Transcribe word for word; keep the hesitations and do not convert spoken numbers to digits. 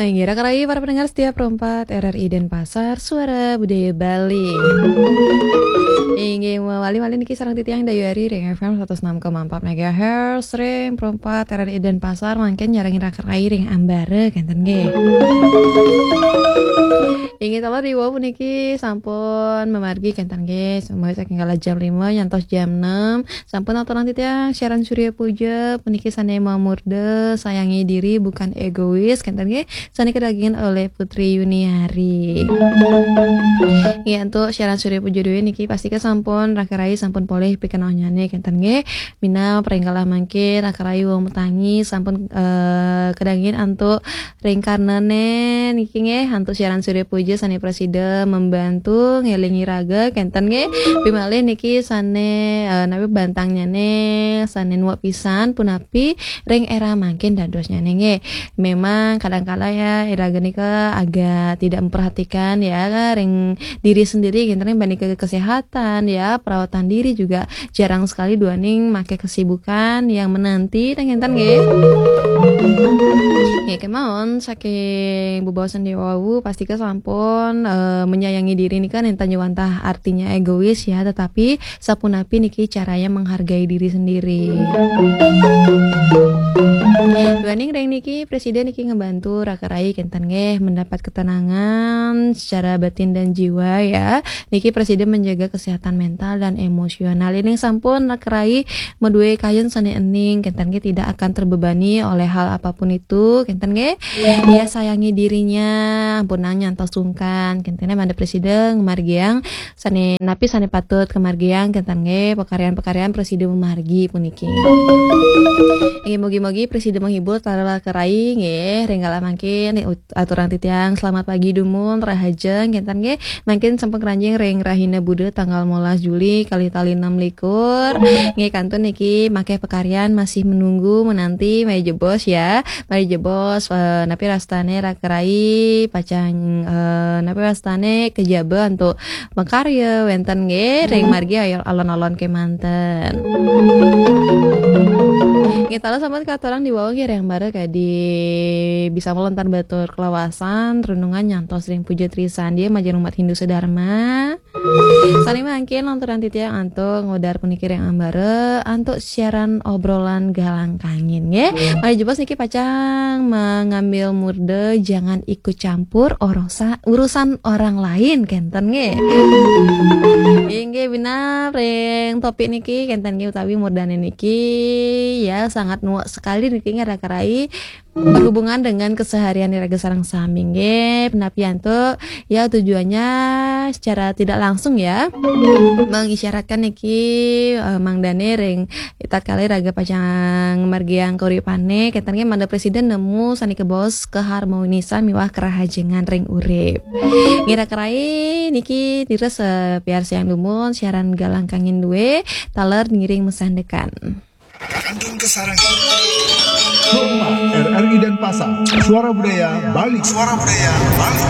Inggih, raka rayi para pendengar setia Pro empat R R I Denpasar, Suara Budaya Bali. Inggih, mawali malih niki sareng titiang Dayu Ari ring F M satus enam koma empat megahertz, ring Pro empat R R I Denpasar, mangkin nyarengin raka rayi ring ambara, kenten nggih. Inggih, taler ri wau puniki sampun mamargi, kenten nggih. Semua saking kala jam lima nyantos jam enam. Sampun aturang titiang siaran Surya Puja, puniki sane mamurda sayangi diri bukan egois, kenten nggih, sane kadagingin oleh Putri Yuniari. Nggih, antuk siaran Surya Puja duwe niki pastika sampun raka rayi sampun polih pikenohnyane, kenten nggih. Minab ring kala mangkin raka rayi wau matangi sampun, eh, kadagingin antuk ring karnane niki nggih, antuk siaran Surya Puja sane prasida membantu ngelingi raga, kenten nggih. Pimalih niki sane, eh, napi bantangnyane sane nuwek pisan, punapi ring era mangkin dadosnyane nggih. Memang kadangkala ya, iraga nika agak tidak memperhatikan ya, ring diri sendiri, kenten nggih, banding ke kesehatan ya, perawatan diri juga jarang sekali duaning make kesibukan yang menanti, tah kenten nggih. Nggih, kemawon saking bebaosan ri wau, pastika sampun, eh, menyayangi diri nika nenten nyuwantah artinya egois ya, tetapi sapunapi niki caranya menghargai diri sendiri. Duaning ring niki, prasida niki ngebantu raka rayi kenten nggih mendapat ketenangan secara batin dan jiwa ya. Niki prasida menjaga kesehatan mental dan emosional. Yen sampun raka rayi madue kayun sane ening, kenten nggih, tidak akan terbebani oleh hal apapun itu, kenten nggih. Ya, sayangi dirinya, ampunang nyantos sungkan, kenten nggih, mangda prasida ngamargiang sane napi sane patut kamargiang, kenten nggih, pakaryan-pakaryan prasida mamargi puniki. Inggih, mugi-mugi prasida menghibur taler raka rayi nggih, ring kala mangkin aturang titiang selamat pagi dumun, rahajeng, kenten nggih. Mangkin sampun kranjing ring rahina Buda tanggal limolas Juli kalih tali enam likur. Nggih, kantun niki makeh pakaryan masih menunggu, menanti, mari jebos ya. Mari jebos, eh, napi wastane raka rayi pacang, eh, napi wastane kejaba antuk makarya wenten nggih ring margi alon-alon kemanten. Nggih, taler sampun katurang ri wau nggih, ring ambara kadi bisa melontar batur kelawasan, renungan nyantos ring puja trisandia majeng umat Hindu sedharma. Sane mangkin lanturang titiang antuk ngudar puniki ring ambara antuk siaran obrolan Galang Kangin nggih. Mari jebos niki pacang mengambil murda jangan ikut campur orosa-, urusan orang lain, kenten nggih. Inggih, minab ring topik niki, kenten nggih, utawi murdane niki ya sangat nuwek sekali niki nggih raka rayi berhubungan dengan keseharian iraga sareng sami nggih. Punapi antuk ya, tujuannya secara tidak langsung ya mengisyaratkan niki, eh, mangdane ring tatkala iraga pacang margiang kauripane, kenten nggih, mangda prasida nemu sane kabaos keharmonisan miwah kerahajengan ring urip. Nggih raka rayi niki nirus, eh, piarsayang dumun siaran Galang Kangin duwe taler ngiring masandekan. Kantun kasarengin. Rumah R R I Denpasar, Suara Budaya Bali. Suara Budaya Bali.